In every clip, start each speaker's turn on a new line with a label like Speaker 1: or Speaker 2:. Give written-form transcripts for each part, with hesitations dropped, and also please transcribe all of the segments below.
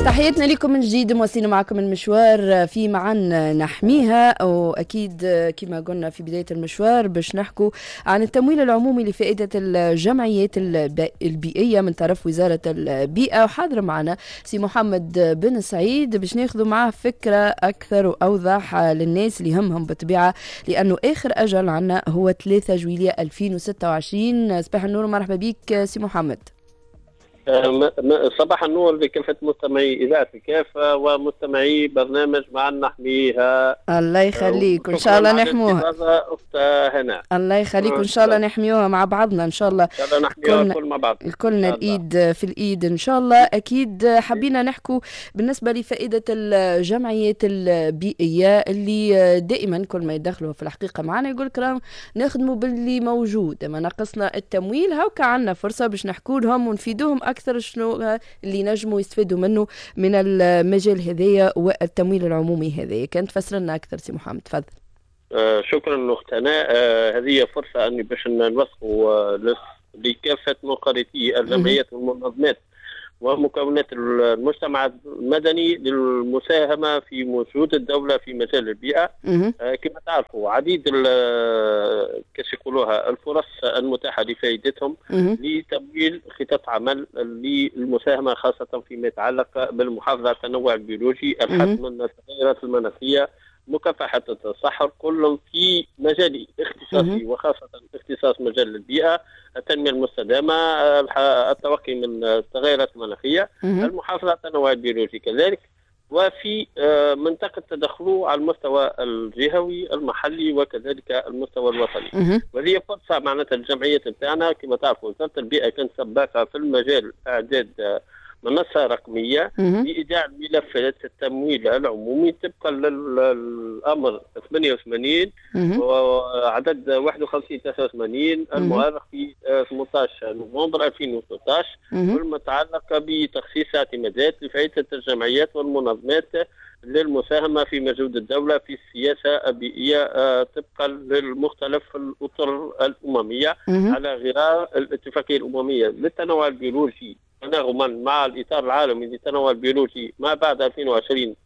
Speaker 1: تحياتنا لكم من جديد، مواصلين معكم المشوار في معا نحميها. واكيد كما قلنا في بداية المشوار باش نحكوا عن التمويل العمومي لفائدة الجمعيات البيئية من طرف وزارة البيئه، وحاضر معنا سي محمد بن سعيد باش ناخذ معاه فكرة اكثر واوضح للناس اللي همهم بالطبيعه، لانه اخر اجل عنا هو 3 جويلية 2026. صباح النور ومرحبا بك سي محمد.
Speaker 2: صباح النور لكافة مستمعي إذاعة الكافة ومستمعي برنامج معا نحميها.
Speaker 1: الله يخليك وإن شاء الله نحموها.
Speaker 2: هنا
Speaker 1: الله يخليك وإن شاء الله نحميوها مع بعضنا إن شاء الله.
Speaker 2: إن شاء الله نحميوها الكل مع بعض،
Speaker 1: كلنا الإيد في الإيد إن شاء الله. أكيد حبينا نحكوا بالنسبة لفائدة الجمعيات البيئية اللي دائما كل ما يدخلوا في الحقيقة معنا يقول لك نخدموا باللي موجود، ما ناقصنا التمويل. هاكا عندنا فرصة باش نحكوا لهم ونفيدوهم أكثر شنو اللي نجموا يستفيدوا منه من المجال هذايا والتمويل العمومي هذايا. كان تفسر لنا أكثر سي محمد، تفضل.
Speaker 2: شكرا أخت هناء. هذه فرصة أني باش نوثقوا لكافة منخرطي الجمعيات والمنظمات ومكونات المجتمع المدني للمساهمة في مجهود الدولة في مجال البيئة. كما تعرفوا عديد كيف يقولوها الفرص المتاحة لفائدتهم لتمويل خطط عمل للمساهمة، خاصة فيما يتعلق بالمحافظة على التنوع البيولوجي، الحد من التغيرات المناخية، مكافحة التصحر، كل في مجال اختصاصي وخاصة اختصاص مجال البيئة، التنمية المستدامة، التوقي من التغيرات المناخية، المحافظة على التنوع البيولوجي كذلك، وفي منطقة تدخله على المستوى الجهوي المحلي وكذلك المستوى الوطني. وهذه فرصة معناتها الجمعيات نتاعنا. كما تعرفوا وزارة البيئة كانت سباقة في المجال إعداد منصة رقمية لإيداع ملفات التمويل العمومي طبقا للأمر 88 وعدد 51 83 المؤرخ في 18 نوفمبر 2016، والمتعلق بتخصيص اعتمادات لفائدة الجمعيات والمنظمات للمساهمة في مجهود الدولة في السياسة البيئية طبقا للمختلف الأطر الأممية على غرار الاتفاقية الأممية للتنوع البيولوجي تناغما مع الإطار العالمي للتنوع البيولوجي ما بعد 2020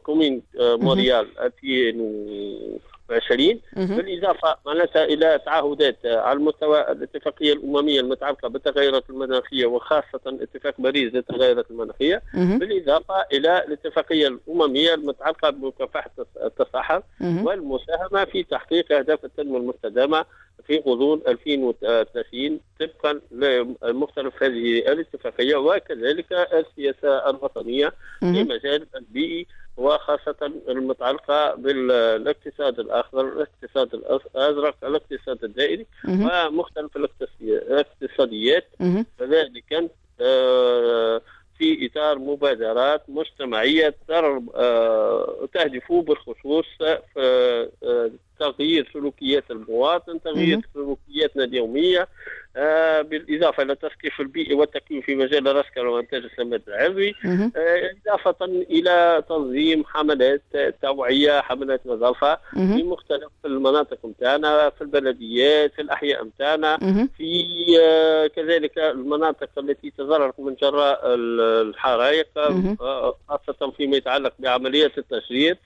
Speaker 2: commune مونريال 2020، بالإضافة معناتها إلى تعهدات على المستوى الاتفاقية الأممية المتعلقة بالتغيرات المناخية وخاصة اتفاق باريس للتغيرات المناخية، بالإضافة إلى الاتفاقية الأممية المتعلقة بمكافحة التصحر والمساهمة في تحقيق أهداف التنمية المستدامة في غضون 2030 طبقا لمختلف هذه الاتفاقية، وكذلك السياسة الوطنية في مجال البيئي وخاصة المتعلقة بالاقتصاد الأخضر، الاقتصاد الأزرق، الاقتصاد الدائري ومختلف الاقتصاديات، كذلك في إطار مبادرات مجتمعية تهدف بالخصوص تغيير سلوكيات المواطن، تغيير سلوكياتنا اليومية، بالإضافة إلى التثقيف البيئي والتكوين في مجال الرسكلة وإنتاج السماد العضوي، إضافة إلى تنظيم حملات توعية، حملات نظافة في مختلف المناطق نتاعنا، في البلديات، في الأحياء نتاعنا، في كذلك المناطق التي تضررت من جراء الحرائق، خاصة فيما يتعلق بعملية التشجير،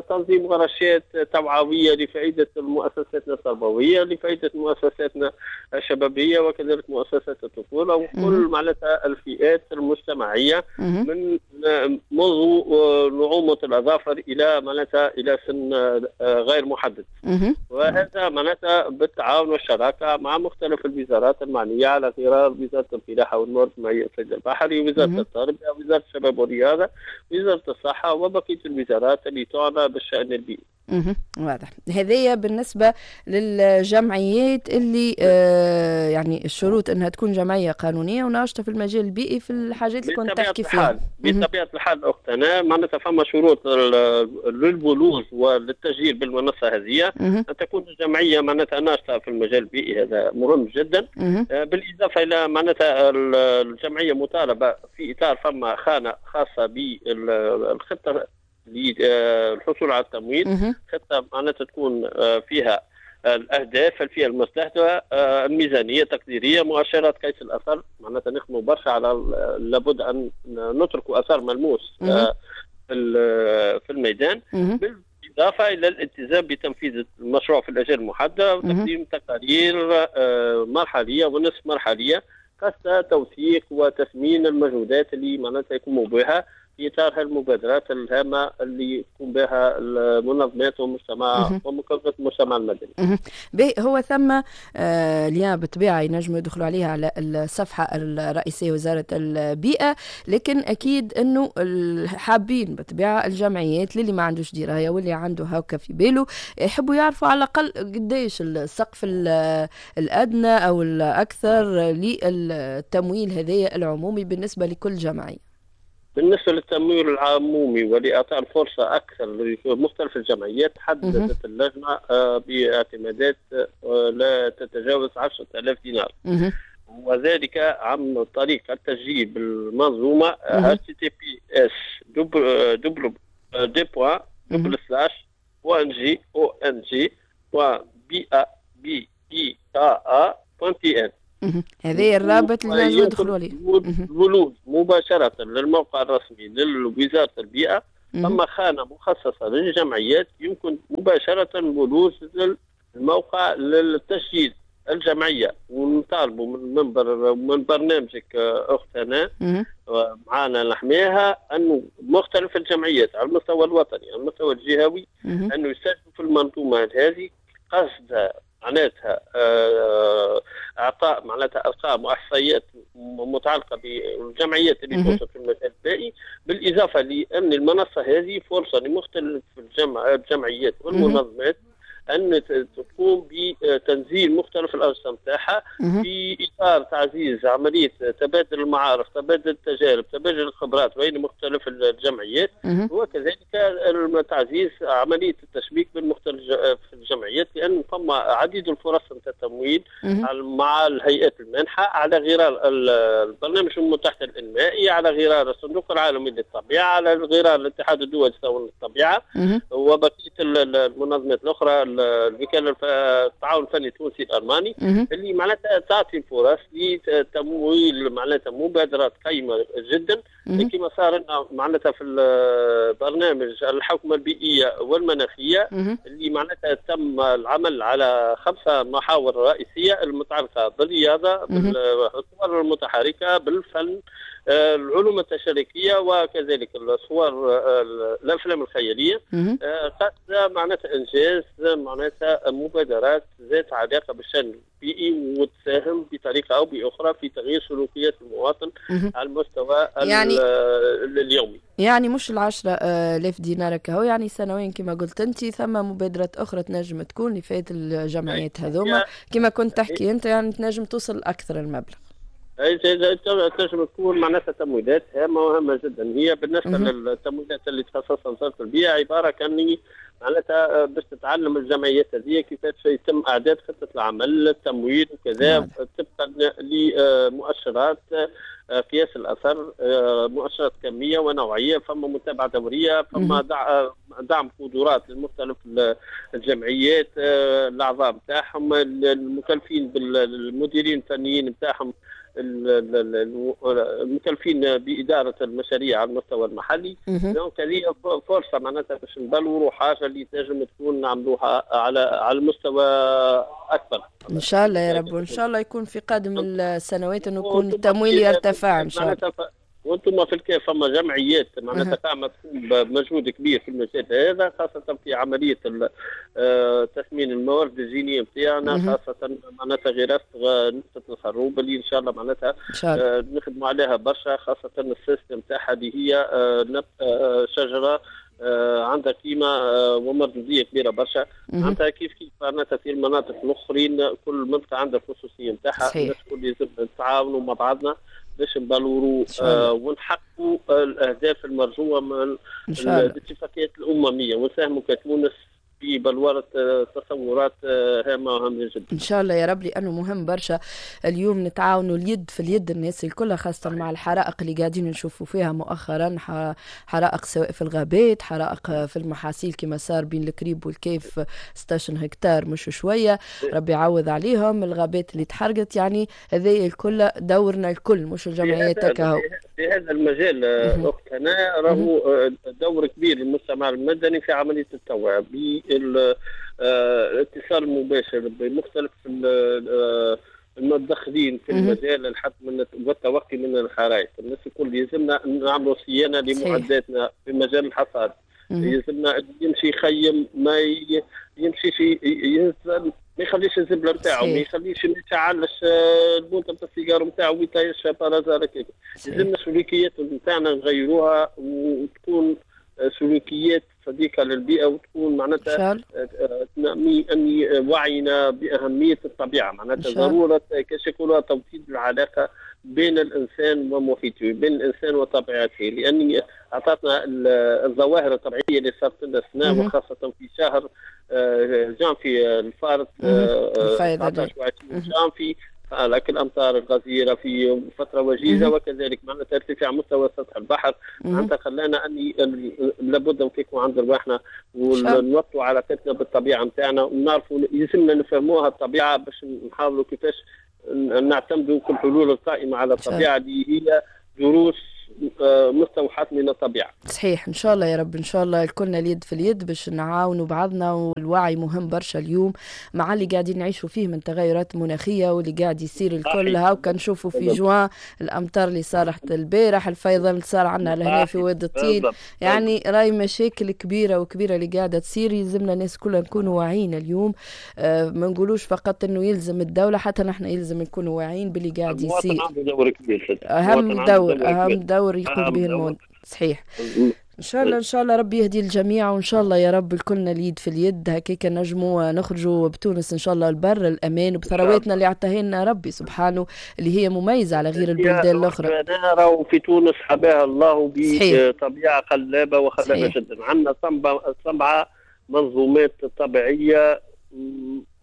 Speaker 2: تنظيم ورشات توعوية لفائدة مؤسساتنا التربوية، لفائدة مؤسساتنا الشبابية وكذلك مؤسسات الطفولة وكل معناتها الفئات المجتمعية من منذ نعومة الأظافر إلى معناتها إلى سن غير محدد. وهذا معناتها بالتعاون والشراكة مع مختلف الوزارات المعنية على غرار وزارة الفلاحة والموارد المائية والصيد البحري، وزارة التربية، وزارة الشباب والرياضة، وزارة الصحة وبقية الوزارات اللي تعنى بالشأن البيئي.
Speaker 1: واضح. هذه بالنسبة للجمعيات اللي يعني الشروط انها تكون جمعية قانونية وناشطة في المجال البيئي في الحاجات اللي كنت تحكي فيها.
Speaker 2: بطبيعة الحال أخت أنا معناتها فما شروط للبلوغ وللتسجيل بالمنصة هذه، أن تكون الجمعية معناتها ناشطة في المجال البيئي، هذا مهم جدا. بالإضافة إلى معناتها الجمعية مطالبة في إطار فما خانة خاصة بالخطة للحصول على التمويل، خطة معناتها تكون فيها الاهداف، الفئة المستهدفه، الميزانية التقديريه، مؤشرات قيس الاثر. معناتها نخدموا برشا على لابد ان نترك اثر ملموس في الميدان، بالإضافة إلى الالتزام بتنفيذ المشروع في الأجال المحددة وتقديم تقارير مرحلية ونصف مرحلية قصد توثيق وتثمين المجهودات اللي معناتها يقوموا بها في إطار المبادرات الهامة اللي تقوم بها المنظمات والمجتمع ومكونات المجتمع المدني.
Speaker 1: هو ثم lien بالطبيعة ينجموا يدخلوا عليها على الصفحة الرئيسية وزارة البيئة، لكن أكيد أنه حابين بالطبيعة الجمعيات للي ما عندوش دراية واللي عنده هاكا في باله يحبوا يعرفوا على الأقل قديش السقف الأدنى أو الأكثر للتمويل هذايا العمومي بالنسبة لكل جمعية.
Speaker 2: بالنسبة للتمويل العمومي ولإعطاء الفرصة أكثر لمختلف الجمعيات، حددت اللجنة باعتمادات لا تتجاوز 10,000 دينار، وذلك عن طريق التسجيل بالمنظومة https double deux points double slash ONG ONG B A B I A A point TN.
Speaker 1: هذا الرابط اللي لازم يدخلوا عليه.
Speaker 2: الولوج مباشرة للموقع الرسمي لوزارة البيئة، ثم خانة مخصصة للجمعيات يمكن مباشرة الولوج للموقع للتسجيل الجمعية. ونطالبوا من منبر من برنامجك أخت هنا معانا نحميها أنه مختلف الجمعيات على المستوى الوطني على المستوى الجهوي أنه يسجلوا في المنظومة هذه قصد معناتها اعطاء معناتها ارقام واحصائيات متعلقه بالجمعيات اللي توصل في المجال البيئي، بالاضافة لان المنصة هذه فرصة لمختلف الجمعيات والمنظمات ان تقوم بتنزيل مختلف الانشطة نتاعها في اطار تعزيز عملية تبادل المعارف، تبادل التجارب، تبادل الخبرات بين مختلف الجمعيات، وكذلك تعزيز عملية التشبيك بين مختلف الجمعيات، لان ثم عديد الفرص نتاع التمويل مع الهيئات المانحه على غرار البرنامج المتحد الانمائي، على غرار الصندوق العالمي للطبيعة، على غرار الاتحاد الدولي للطبيعة وبقية المنظمات الاخرى، الوكالة التعاون الفني التونسي الالماني، اللي معناتها تعطي الفرص لتمويل معناتها مبادرات قيمة جدا، كما صار لنا معناتها في البرنامج الحوكمة البيئية والمناخيه، اللي معناتها تم العمل على 5 محاور رئيسية المتعلقة بالرياضة، بالصور المتحركة، بالفن، العلوم التشاركيه، وكذلك الصور الافلام الخيالية، قصد معناتها انجاز معناتها مبادرات ذات علاقة بالشان البيئي وتساهم بطريقة او باخرى في تغيير سلوكيات المواطن على المستوى يعني اليومي.
Speaker 1: يعني مش 10,000 دينار كهو، يعني سنويا كما قلت انت ثم مبادرات اخرى تنجم تكون لفائدة الجمعيات هذوما كما كنت تحكي انت، يعني تنجم توصل اكثر المبلغ.
Speaker 2: تنجم تكون معناتها تمويلات هامة وهامه جدا. هي بالنسبة للتمويلات اللي تخصصها وزارة البيئة عبارة كان معناتها باش تتعلم الجمعيات هذه كيفاش يتم اعداد خطه العمل، التمويل وكذا، طبقا لمؤشرات قياس الاثر، مؤشرات كمية ونوعية، فما متابعه دورية، فما دعم قدرات لمختلف الجمعيات، الاعضاء نتاعهم، المكلفين بالمديرين الفنيين نتاعهم، المكلفين بادارة المشاريع على المستوى المحلي. donc هذه فرصة معناتها باش نبلوروا حاجة اللي تنجم تكون نعملوها على المستوى اكبر
Speaker 1: ان شاء الله يا رب، وان شاء الله يكون في قادم السنوات انه يكون التمويل يرتفع ان شاء الله.
Speaker 2: وانتم في الكاف فما جمعيات معناتها قامت تقوم بمجهود كبير في المجال هذا، خاصة في عملية تثمين الموارد الجينية نتاعنا، خاصة معناتها غراسه نبتة الخروب اللي ان شاء الله معناتها نخدموا عليها برشا، خاصة ال système نتاعها اللي هي شجرة عندها قيمة ومردوديه كبيرة برشا. معناتها كيف كيف معناتها في المناطق الاخرين كل منطقة عندها الخصوصية نتاعها، الناس الكل لازم نتعاونوا مع بعضنا باش نبلوروا ونحققوا الاهداف المرجوة من الاتفاقيات الاممية ونساهموا كتونس في بلورة تصورات هامة وهامة جدا.
Speaker 1: إن شاء الله يا رب، لأنه مهم برشا اليوم نتعاونوا اليد في اليد الناس الكل، خاصة مع الحرائق اللي قاعدين نشوفوا فيها مؤخرا، حرائق سواء في الغابات، حرائق في المحاصيل كما صار بين الكريب والكيف 16 هكتار مش شوية، ربي يعوض عليهم. الغابات اللي تحرقت، يعني هذا الكل دورنا الكل مش الجمعيات كهو.
Speaker 2: في هذا المجال أخت هنا راهو دور كبير للمجتمع المدني في عملية التوعية بالاتصال المباشر بمختلف المتدخلين في المجال الحد من والتوقي من الحرائق. الناس الكل يلزمنا نعملوا صيانة لمعداتنا في مجال الحصاد، يلزمنا يمشي يخيم، ما يمشيش ينزل، ما يخليش الزبله نتاعو، ما يخليش ما يشعلش البوطه نتاع السيجار نتاعو ويطيشها par hasard. لازمنا سلوكيات نتاعنا نغيروها وتكون سلوكيات صديقه للبيئة، وتكون معناتها اني وعينا باهمية الطبيعة، معناتها ضرورة كيش يقولوا توطيد العلاقة بين الانسان ومحيطه، بين الانسان وطبيعته، لاني اعطتنا الظواهر الطبيعية اللي صارت لنا السنة، وخاصة في شهر جانفي الفارط 19 و20 جانفي، لكن الامطار الغزيرة في فترة وجيزة، وكذلك معناتها ارتفاع مستوى سطح البحر، معناتها خلانا اني لابد نفيقوا عند رواحنا ونوطوا علاقتنا بالطبيعة نتاعنا، ونعرفوا يلزمنا نفهموها الطبيعة باش نحاولوا كيفاش نعتمدوا كل الحلول القائمة على الطبيعة اللي هي دروس مستوحاة من الطبيعة.
Speaker 1: صحيح، إن شاء الله يا رب، إن شاء الله الكلنا اليد في اليد باش نعاونوا بعضنا، والوعي مهم برشا اليوم مع اللي قاعدين نعيشوا فيه من تغيرات مناخية واللي قاعد يصير الكل. هاو كنشوفوا في جوان الأمطار اللي صارت البارح، الفيضان اللي صار عندنا لهنا في واد الطين، يعني راي مشاكل كبيرة وكبيرة اللي قاعدة تصير. يلزمنا الناس كلها نكونوا واعيين اليوم، ما نقولوش فقط إنه يلزم الدولة، حتى نحن يلزم نكونوا واعيين باللي قاعد يصير.
Speaker 2: دور كبير،
Speaker 1: أهم دور، أهم دور يقوم به المواطن. صحيح، ان شاء الله، ان شاء الله ربي يهدي الجميع، وان شاء الله يا رب الكلنا اليد في اليد هكاك نجموا نخرجوا بتونس ان شاء الله البر الامان، وبثرواتنا اللي عطاها لنا ربي سبحانه اللي هي مميزة على غير البلدان الاخرى.
Speaker 2: راهو في تونس حباها الله بطبيعة خلابة وخلابه جدا، عندنا 7 منظومات طبيعية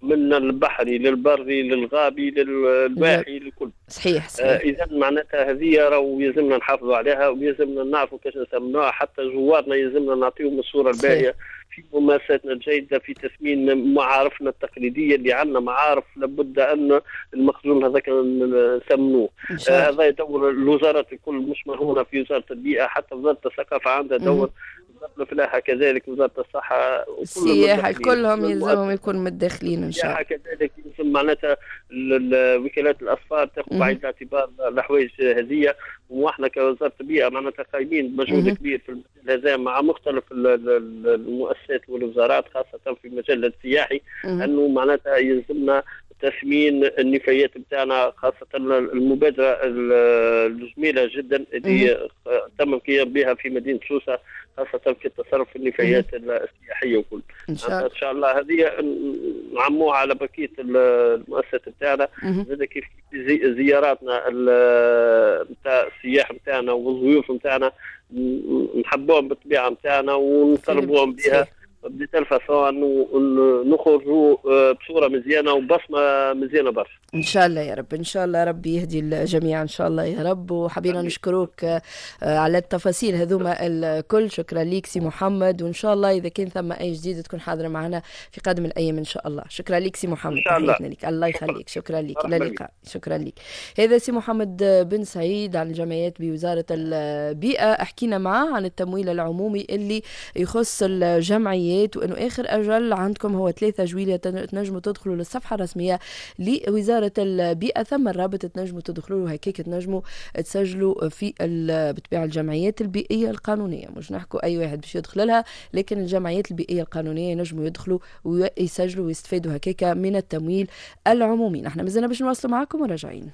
Speaker 2: من البحري للبري للغابي للواحي للكل.
Speaker 1: صحيح صحيح.
Speaker 2: اذا معناتها هذه راهو يلزمنا نحافظوا عليها، ويلزمنا نعرفوا كيفاش نسمنوها، حتى زوارنا يلزمنا نعطيهم الصورة الباهيه في ممارساتنا الجيدة، في تثمين معارفنا التقليدية اللي عندنا معارف لابد ان المخزون هذاك نسمنوه. هذا دور الوزارات الكل، مش مرهونه في وزارة البيئة، حتى وزارة الثقافة عندها دور، وزارة الفلاحة كذلك، وزارة الصحة،
Speaker 1: السياحة، كلهم يلزمهم يكونوا متداخلين ان شاء الله.
Speaker 2: كذلك يلزم معناتها وكالات الاسفار تاخذ بعين الاعتبار الحوايج هذه، واحنا كوزارة البيئة معناتها قايمين بمجهود كبير في المجال هذا مع مختلف المؤسسات والوزارات، خاصة في المجال السياحي، انه معناتها يلزمنا تثمين النفايات بتاعنا، خاصة المبادرة الجميلة جدا اللي تم القيام بها في مدينة سوسة، خاصة في التصرف في النفايات السياحية وكل. إن شاء الله هذه نعموها على بقية المؤسسات بتاعنا، زاد كيف زياراتنا نتاع السياح نتاعنا والضيوف نتاعنا نحبوهم بالطبيعة نتاعنا ونطلبوهم بها ب telle façon انه نخرجوا بصورة مزيانه وبصمه مزيانه برشا.
Speaker 1: ان شاء الله يا رب، ان شاء الله ربي يهدي الجميع ان شاء الله يا رب. وحبينا نشكروك على التفاصيل هذوما الكل، شكرا ليك سي محمد، وان شاء الله اذا كان ثم اي جديد تكون حاضره معنا في قادم الايام ان شاء الله. شكرا ليك سي محمد، تحياتنا لك، الله يخليك، شكرا لك، الى اللقاء. شكرا لك. هذا سي محمد بن سعيد عن الجمعيات بوزارة البيئة، حكينا معاه عن التمويل العمومي اللي يخص الجمعيات، وانه اخر اجل عندكم هو 3 جويلية، تنجموا تدخلوا للصفحه الرسمية لوزارة البيئة، ثم الرابط تنجموا تدخلوا له هكاك تنجموا تسجلوا في بطبيعة الجمعيات البيئية القانونية، مش نحكوا اي واحد باش يدخل لها، لكن الجمعيات البيئية القانونية ينجموا يدخلوا ويسجلوا ويستفادوا هكاك من التمويل العمومي. نحن مازلنا باش نواصلوا معكم وراجعين.